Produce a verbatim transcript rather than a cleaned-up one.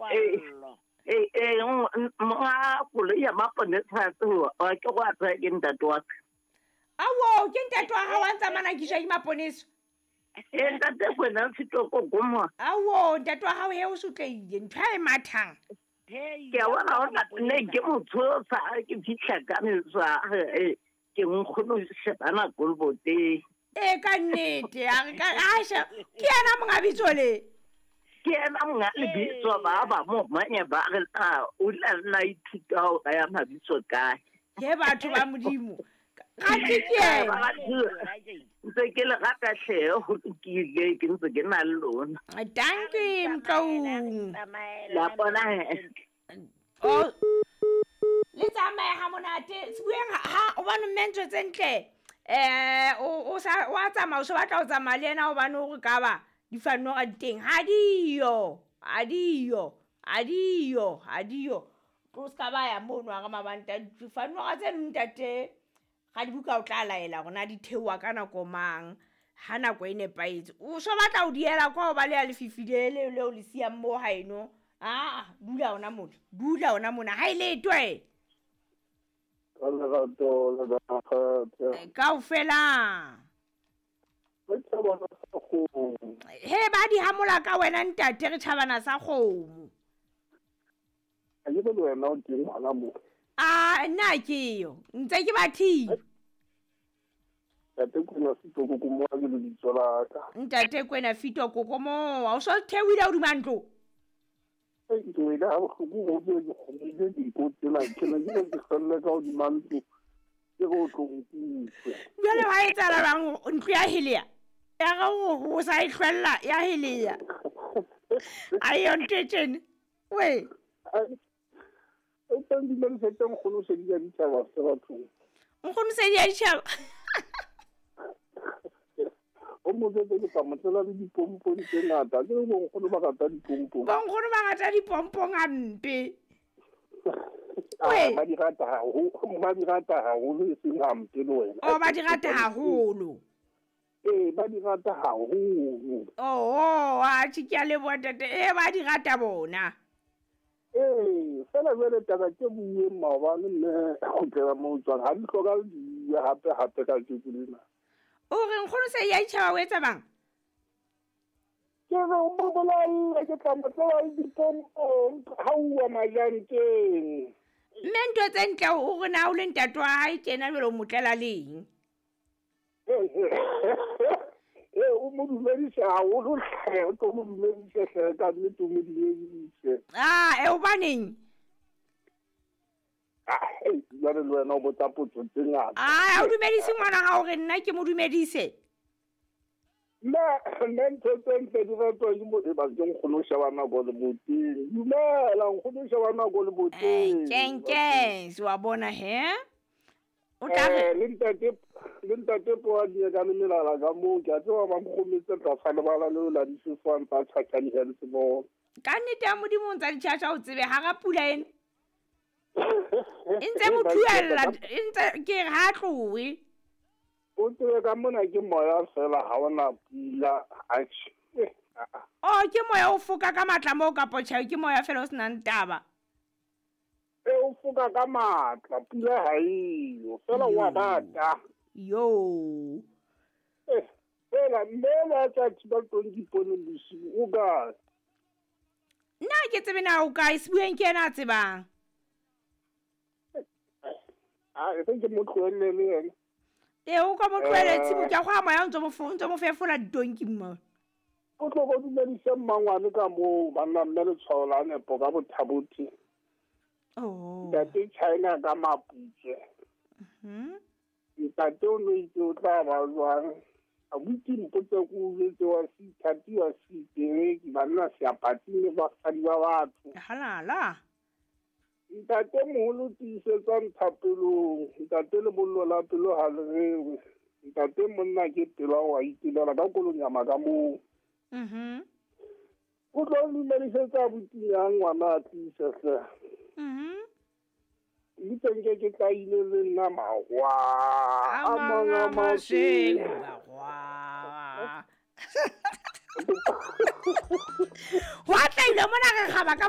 Mokwallo. Ee, ee, monga koloi ya maponesa a ke go a tsaya ke ntate wa ka. Awo, ke ntate wa hao a ntsa manakiswa ke maponesa. Ee, ntate Kwena Fito Kokomoa. Awo, ntate wa hao he o sotlehile, ntho e mathang. Ke a bona hore ne ke mo tshosa ha ke fihla ka metswa, eh, ke nkgono shebana koloboteng. Ee, ka nnete, a re ka asha, ke yena monga bitso le. Ke yena monga lebitso, ba ba mo manye ba re a o la nna ithuta ho ya mabitso kae. Ke batho ba Modimo. Ga ke ke yena. Ntse ke le rata hle, ho lokile, ke ntse ke na le lona. Dankie Mtloung. La bona he. Oh, le tsamaye ha monate. Sebueng ha o bone mme ntho tse ntle. Eh, o o sa wa tsamaya, o se batla ho tsamaya le yena hobane o re ka ba difanoga di teng. Ha diyo, ha diyo, ha diyo, ha diyo. Tlo ska ba ya mono ha re mabanta difanoga tse ntate. Ga di buka o tla laela hore na di theoha ka nako mang, ha nako e nepahetse. O so batla ho diela kwa ho ba le ya lefifi le le leo le siyang mo haeno. Ah, dula hona mona, dula hona mona, ha e letwe. Ka lerato le makgethe. Kaofela. Re tjhabana sa kgomo. He ba di hamola ka wena ntate, re tjhabana sa kgomo. Ha ke le wena o teng hona mo. Ah, nna ke yo. Ntse ke bathile. Ntate Kwena Fito Kokomoa ke lebitso la ka. Ntate Kwena Fito Kokomoa, o so theohile hodima ntlo. Ke wele ha bohloko ho ke ke kgomile diko tsena, ke ne ke ke kgelle ka hodima ntlo. Ke go tlo nkutlwe. Jwale wa etsahala jwang ntlo ya helea? Ya re o o sa e hlwella ya helea. Ayo ntho e tjena. We. O teng dumedisa nkgono se di ya ditjhaba se bathong. Nkgono se di ya ditjhaba. O mo jwetse ke tla mo tlela le dipompong tse ngata. Ke re bonkgono ba rata dipompong. Bonkgono ba rata dipompong hampe. Ah, ba di rata haholo, ba di rata haholo e seng hampe le wena. Oh, ba di rata haholo. Ee, ba di rata haholo. Oh, atjhe ke a leboha ntate. Eh, ba di rata bona. Ee, fela jwale taba ke bueng maobane mme ho tlela mo tswang ha di hloka di bue hape hape ka tjeko lena. O re nkgono se ya itjhaba o etsa bang? Ke re o mo bolelle ke tla mo tlela le dipompong ha uwa majanteng. Mme ntho tse ntle o re na o le ntate wa hae tjena jwale o mo tlela leng? Ee, o mo dumedise haholo hle, o tlo mo dumedise hle, ka nnete o mo dumedise. Ah, e hobaneng? Ah, jwale le wena o botsa potso tse ngata. Ah, o dumedise ngwana hao re nna ke mo dumedise. Nna, nna ntho tse ntle di ratwa ke mo e ba ke nkgono o sheba nako le boteng. Dumela, nkgono o sheba nako le boteng. Eh, keng keng, wa bona he? O tla re Eh, le ntate, le ntate Poadi ka le melala ka moo, ke a tseba ba nkgometse tlasa lebala leo la difofane tsa Tjhatjhane Health Board. Ka nnete ya Modimo o ntsa ditjhatjha o tsebe hara pula ena. E ntse mo thuella, e ntse ke re ha tlohe. O tsebe ka mona ke moya fela ha ona pula, atjhe. Oh, ke moya o foka ka matla moo kapo tjhe, ke moya fela o senang taba. E o foka ka matla, pula ha eyo, fela wa bata. Yo. Eh, fela mme la tsa thiba tonki pono bosiu, o kae? Nna ke tsebe na o kae, Sebueng ke yena a tsebang. Ah, e ke mo tlohelle le yena. Ee, o ka mo tlohelle tshimo ke a go moya o ntse mo fo, ntse mo fefola ditonki mo. O tlo go dumedise mmangwane ka moo, banna mme letshwao la nepo ka bothabothi. Oh. Ntate China ka Maputswe. Mhm. Ntate o no itse o tla ba jwang. Abuti mpotse ko o jwetse wa seithati wa seitereki, banna seapati le basadi ba batho. Halala. Ntate moholo tiisetsa nthapelong, ntate lebollo la pelo ha le rewe. Ntate monna ke pelo wa itelela ka kolonyama ka moo. Mhm. O tlo dumedisetsa abuti yang ngwana a tlise hle. Mhm. Le teng ke ke tla ile le nna mahwa A a mang mang a a masweu, masweu. mahwa. Ho atleile mona re kgaba ka